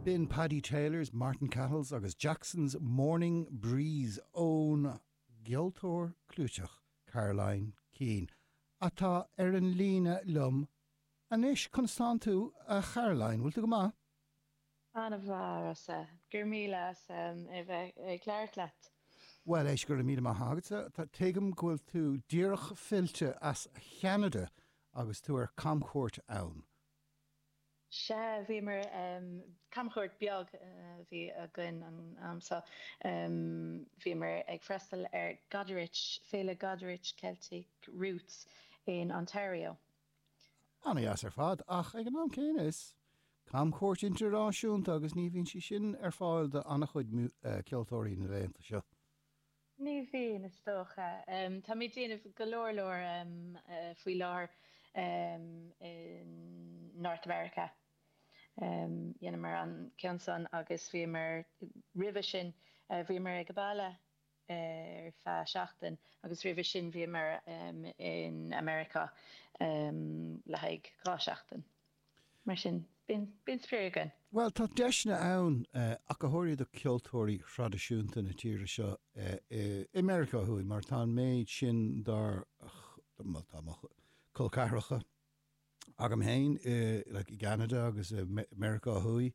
B'in Paddy Taylor's, Martin Cahill's agus Jackson's Morning Breeze ón gceoltóir clúiteach Caroline Keane, atá ar an líne liom anois. Conas tánn tú, a Charoline? Bhfuil tú go maith? An-mhaith, a Rossa. Go raibh míle as a bheith ag labhairt leat. Bhuel, éist, go raibh míle maith agatsa. Tuigim go bhfuil tú díreach fillte as Cheanada agus tú ar camchuairt ann. Sea, bhíomar, camchuairt beag a bhí againn an am seo. Bhíomar ag freastal ar Goderich, Féile Goderich Celtic Roots in Ontario. An-dheas ar fad, ach ag an am céanna is camchuairt idirnáisiúnta agus ní bhíonn sí sin ar fáil do an-chuid ceoltóirí na laethanta seo. Ní bhíonn, is dócha. Tá mé ag déanamh go leor leor faoi láthair in North America. Dheineamar an ceann san agus bhíomar roimhe sin, bhíomar ag baile ar feadh seachtain agus roimhe sin bhíomar in America le haghaidh 2 seachtain. Mar sin, bíonn spraoi againn. Bhuel, tá deiseanna ann, ach go háirithe do cheoltóirí thraidisiúnta na tíre seo i Meiriceá Thuaidh, mar tá an méid sin dár, bhuel, tá mo chol ceathracha agam féin i, like, i gCeanada agus i Meiriceá Thuaidh,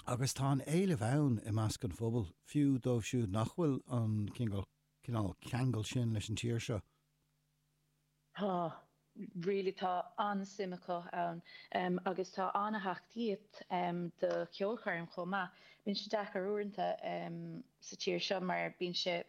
Agus tá an éileamh ann i measc an phobail, fiú dóibh siúd nach bhfuil an cineál ceangal sin leis an tír seo. Tá. Really tá an-suim acu ann agus tá an-tacaíocht do cheolchoirm chomh maith. Bíonn sé deacair uaireanta sa tír seo mar bíonn sé.